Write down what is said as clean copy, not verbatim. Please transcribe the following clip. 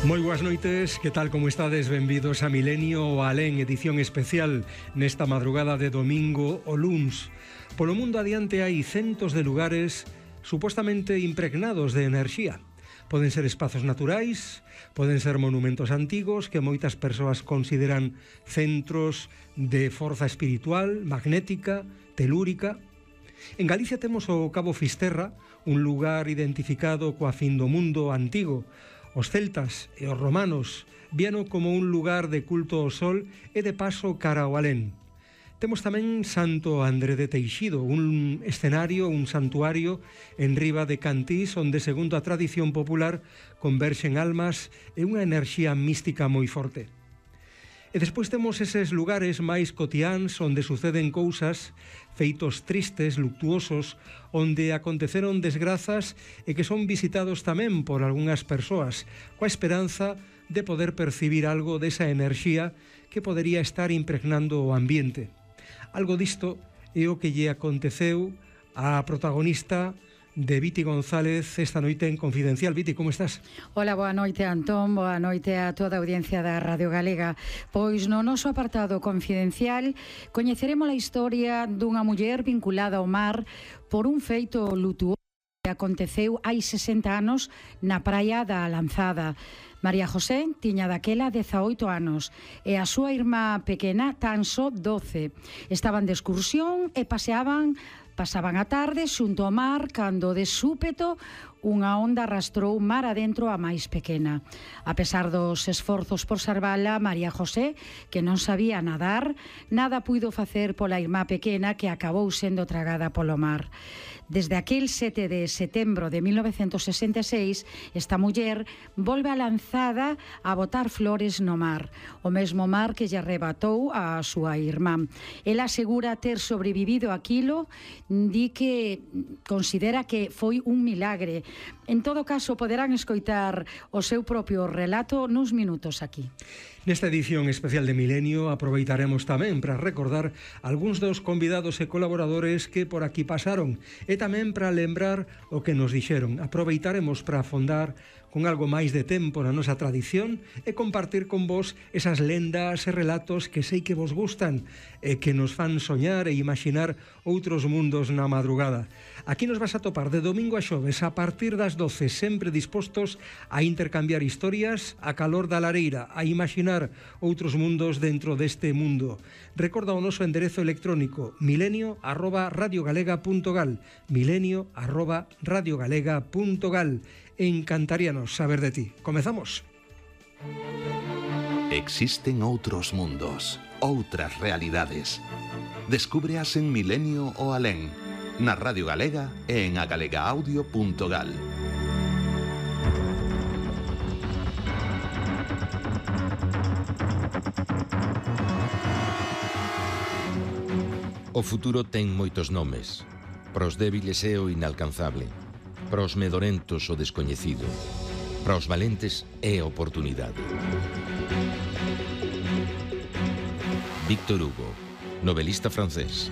Moi boas noites, que tal como estades? Benvidos a Milenio o Alén, edición especial nesta madrugada de domingo o luns. Polo mundo adiante hai centos de lugares supostamente impregnados de enerxía. Poden ser espazos naturais, poden ser monumentos antigos que moitas persoas consideran centros de forza espiritual, magnética, telúrica. En Galicia temos o Cabo Fisterra, un lugar identificado coa fin do mundo antigo. Os celtas e os romanos víano como un lugar de culto ao sol e de paso cara ao alén. Temos tamén Santo André de Teixido, un escenario, un santuario en riba de Cantís, onde, segundo a tradición popular, converxen almas e unha enerxía mística moi forte. E despois temos eses lugares máis cotiáns onde suceden cousas, feitos tristes, luctuosos, onde aconteceron desgrazas e que son visitados tamén por algunhas persoas, coa esperanza de poder percibir algo desa enerxía que podería estar impregnando o ambiente. Algo disto é o que lle aconteceu á protagonista de Viti González esta noite en Confidencial. Viti, como estás? Hola, boa noite, Antón, boa noite a toda a audiencia da Radio Galega. Pois no noso apartado Confidencial coñeceremos a historia dunha muller vinculada ao mar por un feito lutuoso que aconteceu hai 60 anos na praia da Lanzada. María José tiña daquela 18 anos e a súa irmá pequena tan só 12. Estaban de excursión e pasaban a tarde xunto ao mar cando de súpeto unha onda arrastrou mar adentro a máis pequena. A pesar dos esforzos por salvala, María José, que non sabía nadar, nada puido facer pola irmá pequena que acabou sendo tragada polo mar. Desde aquel 7 de setembro de 1966, esta muller volve a Lanzada a botar flores no mar, o mesmo mar que lle arrebatou a súa irmá. Ela asegura ter sobrevivido aquilo, di que considera que foi un milagre. En todo caso, poderán escoitar o seu propio relato nuns minutos aquí. Nesta edición especial de Milenio aproveitaremos tamén para recordar algúns dos convidados e colaboradores que por aquí pasaron e tamén para lembrar o que nos dixeron. Aproveitaremos para afondar con algo máis de tempo na nosa tradición e compartir con vos esas lendas e relatos que sei que vos gustan e que nos fan soñar e imaginar outros mundos na madrugada. Aquí nos vas a topar de domingo a xoves a partir das 12, sempre dispostos a intercambiar historias a calor da lareira, a imaginar outros mundos dentro deste mundo. Recorda o noso enderezo electrónico milenio@radiogalega.gal, milenio@radiogalega.gal. Encantaríanos saber de ti. Comezamos. Existen outros mundos, outras realidades. Descúbreas en Milenio o Alén, na Radio Galega e en agalegaudio.gal. O futuro ten moitos nomes. Para os débiles é o inalcanzable. Para os medorentos o descoñecido. Para os valentes é a oportunidade. Víctor Hugo, novelista francés.